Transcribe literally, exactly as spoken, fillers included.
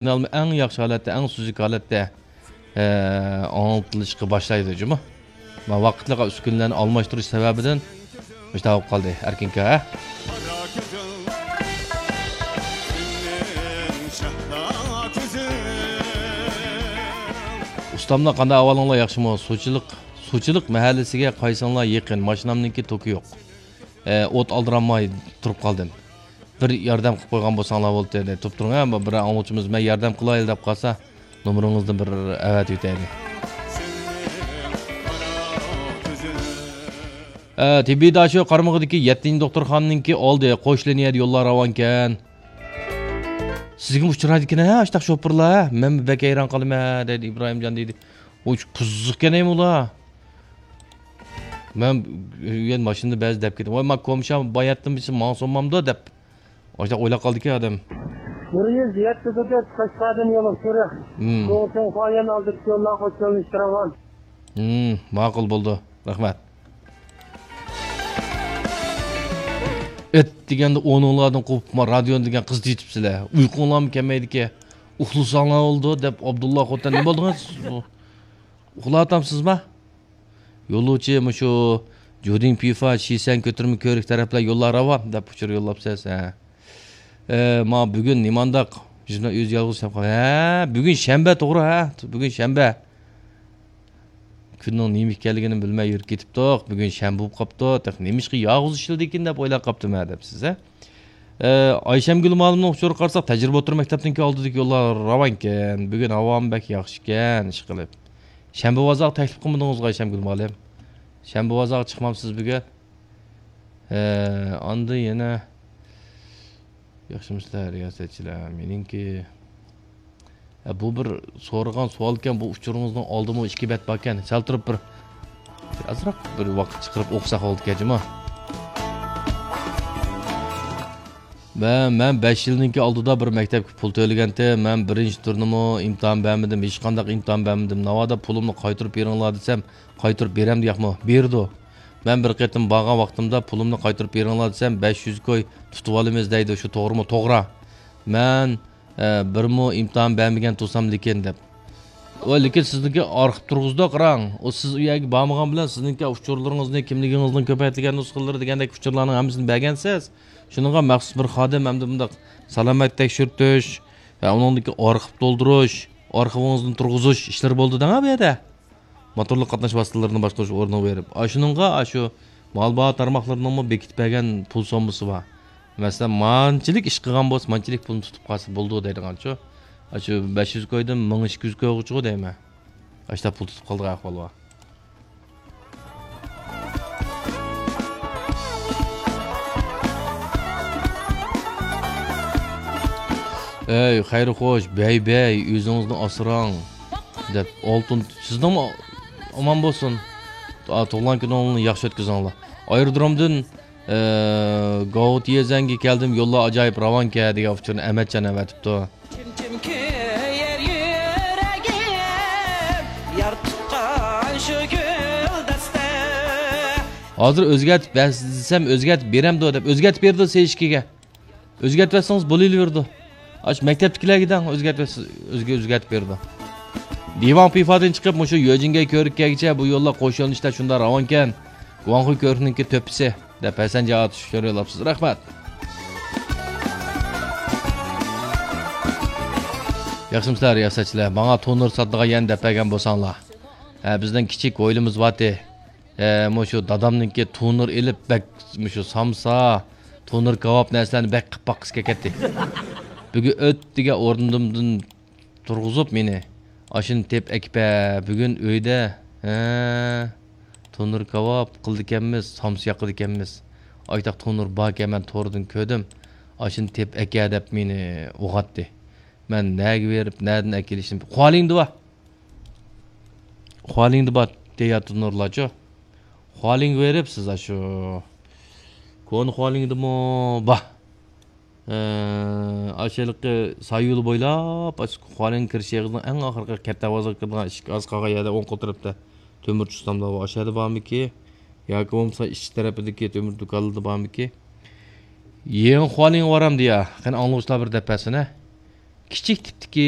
ئەڭ ياخشى ھالەتتە، ئەڭ سۈزۈك ھالەتتە، ئە، ئاڭلىتىلىشقا باشلايدۇ جۇمۇ. مانا ۋاقىتلىق ئۈسكۈنىلەرنى ئالماشتۇرۇش سەۋەبىدىن مۇشۇنداق بولۇپ قالدى، ئەركىنكا، ھە؟ ئۇستاملار، قانداق ئەھۋالىڭلار، ياخشىمۇ؟ سۇچىلىق، سۇچىلىق مەھەللىسىگە قايسىڭلار يېقىن؟ ماشىنامنىڭكى توكى يوق. ئە، ئوت ئالدىرالماي تۇرۇپ قالدىم. بىر ياردەم قىلىپ قويغان بولساڭلار بولدى، دەپ تۇرۇپ تۇرۇڭ، ھە، بىر ئاڭلىغۇچىمىز مەن ياردەم قىلايلى دەپ قالسا، نومۇرىڭىزنى بىر ئەۋەتىۋېتەيلى. ئە، تېببىي داشۆ قارمىقىدىكى يەتتىنچى دوختۇرخانىنىڭكى ئالدى، قوش لىنىيەدە يوللار راۋانكەن. سىزگىمۇ ئۇچرايدىكەن ھە، ئاشتاق شوپۇرلار، ھە؟ مەنمۇ بەك ھەيران قالىمەن، دەيدۇ ئىبراھىمجان دەيدۇ. ئۇ قىزىقكەن ئۇلار. مەن يەنە ماشىنىدا بەزى دەپ كېتىپ، ۋاي، ما كومشام باياتتىن بىرسى ماڭا سونمامدۇ دەپ، ئاشۇنداق ئويلاپ قالدىكەن ئادەم. بىر يۈز يەتتە كۆچەت قەشقەردىن يولۇق شېرىق. مم. چوڭ چوڭ قايان ئالدىدىكى يوللار قوشۇلۇشتۇرغان. مم، ماقۇل بولدى. رەھمەت. ئېت دېگەندە ئورنۇڭلاردىن قوپۇپ، ما رادىيونى دېگەن قىز تېتىپسىلەر. ئۇيقۇڭلارمۇ كەلمەيدىكەن. ئۇخلىساڭلار بولدى دەپ، ئابدۇللا خوتەن نېمە بولدىڭىز؟ ئۇخلاۋاتامسىزما؟ يولۇچى مۇشۇ جۇدىڭ پىفا، شىسەن كۆتۈرمە كۆۋرۈك تەرەپلەر يوللار راۋان دەپ ئۇچۇر يوللاپسىز، ھە. ئە، ما بۈگۈن نېمانداق؟ يۈز مىڭ يۈز يالغۇز سەپ قال-، ھە، بۈگۈن شەنبە، توغرا، ھە؟ بۈگۈن شەنبە. كۈننىڭ نېمە ئىكەنلىكىنى بىلمەي يۈرۈپ كېتىپتۇق. بۈگۈن شەنبە بولۇپ قاپتۇ. تېخى نېمىشقا يالغۇز ئىشلىدىكىن دەپ ئويلاپ قاپتىمەن دەپسىز، ھە؟ ئە، ئايشەمگۈل مۇئەللىمنىڭ ئۇچۇرىغا قارىساق، تەجرىبە ئوتتۇرا مەكتەپنىڭكى ئالدىدىكى يوللار راۋانكەن. بۈگۈن ھاۋامۇ بەك ياخشىكەن، ئىشقىلىپ. شەنبە بازارغا تەكلىپ قىلمىدىڭىزغۇ ئايشەمگۈل مۇئەللىم؟ شەنبە بازارغا چىقمامسىز بۈگۈن؟ ئە، ئاندىن يەنە ياخشىمۇسىلەر، رىياسەتچىلەر؟ مېنىڭكى، ھە، بۇ بىر سورىغان سوئالكەن، بۇ ئۇچۇرىڭىزنىڭ ئالدىمۇ ئىككى بەت باركەن. سەل تۇرۇپ بىر، بىر ئازراق بىر ۋاقىت چىقىرىپ ئوقۇساق بولىدىكەن جۇمۇ. مەن، مەن بەش يىلنىڭكى ئالدىدا بىر مەكتەپكە پۇل تۆلىگەنتىم. مەن بىرىنچى تۈرنىمۇ ئىمتىھان بەرمىدىم، ھېچقانداق ئىمتىھان بەرمىدىم. ناۋادا پۇلۇمنى قايتۇرۇپ بېرىڭلار دېسەم، قايتۇرۇپ بېرەمدۇ ياقمۇ؟ بېرىدۇ. مەن بىر قېتىم بارغان ۋاقتىمدا پۇلۇمنى قايتۇرۇپ بېرىڭلار دېسەم، بەش يۈز كوي تۇتۇۋالىمىز دەيدۇ. شۇ توغرىمۇ؟ توغرا. مەن، ئە، بىرمۇ ئىمتىھان بەرمىگەن تۇرسام لېكىن دەپ. ۋاي، لېكىن سىزنىڭكى ئارخىپ تۇرغۇزدى، قاراڭ. ئۇ سىز ئۇ يەرگە بارمىغان بىلەن سىزنىڭكى ئۇچۇرلىرىڭىزنى، كىملىكىڭىزنىڭ كۆپەيتىلگەن نۇسخىلىرى دېگەندەك ئۇچۇرلارنىڭ ھەممىسىنى بەرگەنسىز. شۇنىڭغا مەخسۇس بىر خادىم ھەمدە بۇنداق سالامەت تەكشۈرتۈش ۋە ئۇنىڭدىكى ئارخىپ تولدۇرۇش، ئارخىۋىڭىزنى تۇرغۇزۇش ئىشلىرى بولىدۇ دەڭا بۇ يەردە. موتورلۇق قاتناش ۋاسىتىلىرىنى باشقۇرۇش ئورنىغا بېرىپ، ئاشۇنىڭغا ئاشۇ مال باھا تارماقلىرىنىڭمۇ بېكىتىپ بەرگەن پۇل سوممىسى بار. مەسىلەن، مانچىلىك ئىش قىلغان بولسا، مانچىلىك پۇلنى تۇتۇپ قالسا بولىدۇ دەيدىغانچۇ. ئاشۇ بەش يۈز كويدىن مىڭ ئىككى يۈز كويغىچىغۇ دەيمەن. ئاشۇنداق پۇل تۇتۇپ قالىدىغان ئەھۋال بار. ئەي، خەير خوش، بەي بەي، ئۆزىڭىزنى ئاسراڭ، دەپ، ئالتۇن، سىزنىڭمۇ ئامان بولسۇن. ئا، تۇغۇلغان كۈنۈڭلارنى ياخشى ئۆتكۈزۈڭلار. ئايرودرومدىن، ئە، گاۋۇتيېزەنگە كەلدىم، يوللار ئاجايىپ راۋانكەن، دېگەن ئۇچۇرنى ئەمەتجان ئەۋەتىپتۇ. كىم، كىم كۆيەر يۈرەگىم، يار تۇتقان شۇ گۈلدەستە. ھازىر ئۆزگەرتىپ بەرسە دېسەم، ئۆزگەرتىپ بېرەمدۇ دەپ، ئۆزگەرتىپ بېرىدۇ سېيىشكىگە. ئۆزگەرتىۋەتسىڭىز بولۇۋېرىدۇ. ئاشۇ مەكتەپتىكىلەرگە دەڭ، ئۆزگەرتىۋەتسە، ئۆزگە ئۆزگەرتىپ بېرىدۇ. دىۋاڭ پىفادىن چىقىپ، مۇشۇ يۆجىنگەي كۆۋرۈككەگىچە بۇ يوللار قوش يۆنىلىشتە شۇنداق راۋانكەن. گۇاڭخۇي كۆۋرۈكنىڭكى تۆپىسى، دەپ ھەسەن جاۋات شۇ يوللاپسىز. رەھمەت. ياخشىمۇسىلەر، رىياسەتچىلەر؟ ماڭا تونۇر ساتىدىغان يەرنى دەپ بەرگەن بولساڭلار. ھە، بىزنىڭ كىچىك ھويلىمىز بارتى. ھە، مۇشۇ دادامنىڭكى تونۇر ئېلىپ، بەك مۇشۇ سامسا، تونۇر كاۋاپ نەرسىلەرنى بەك قىلىپ باققۇسى كەلگەنتى. بۈگۈن ئۆت دېگەن ئورنۇمدىن تۇرغۇزۇپ مېنى، ئاشۇنى تېپىپ ئەكىپە، بۈگۈن ئۆيدە، ھە، تونۇر كاۋاپ قىلىدىكەنمىز، سامسا ياقىدىكەنمىز. ئايتاق تونۇر باركەن، مەن توردىن كۆردۈم. ئاشۇنى تېپىپ ئەكە دەپ مېنى ئويغاتتى. مەن نەگە بېرىپ، نەدىن ئەكېلىشنى، خۇالىڭدا بار. خۇالىڭدا بار، تەييار تونۇرلارچۇ. خۇالىڭغا بېرىپ سىز ئاشۇ كونا خۇالىڭدىمۇ بار. ئاشۇ ھېلىقى سايۇلى بويلاپ، ئاشۇ خۇالىڭ كىرىش ئېغىزىنىڭ ئەڭ ئاخىرقى كەتتە دەرۋازىغا كىرىدىغان ئىشىك ئاز قالغان يەردە ئوڭ قول تەرەپتە تۆمۈر چۇستامدا بار. ئاشۇ يەردە بارمىكى؟ ياكى بولمىسا ئىچ تەرىپىدىكى تۆمۈر دۇكانلىرىدا بارمىكى؟ يېڭى خۇالىڭغا بارامدۇ يا؟ قېنى ئاڭلىغۇچىلار بىر دەپ بەرسۇن ھە. كىچىك تىپتىكى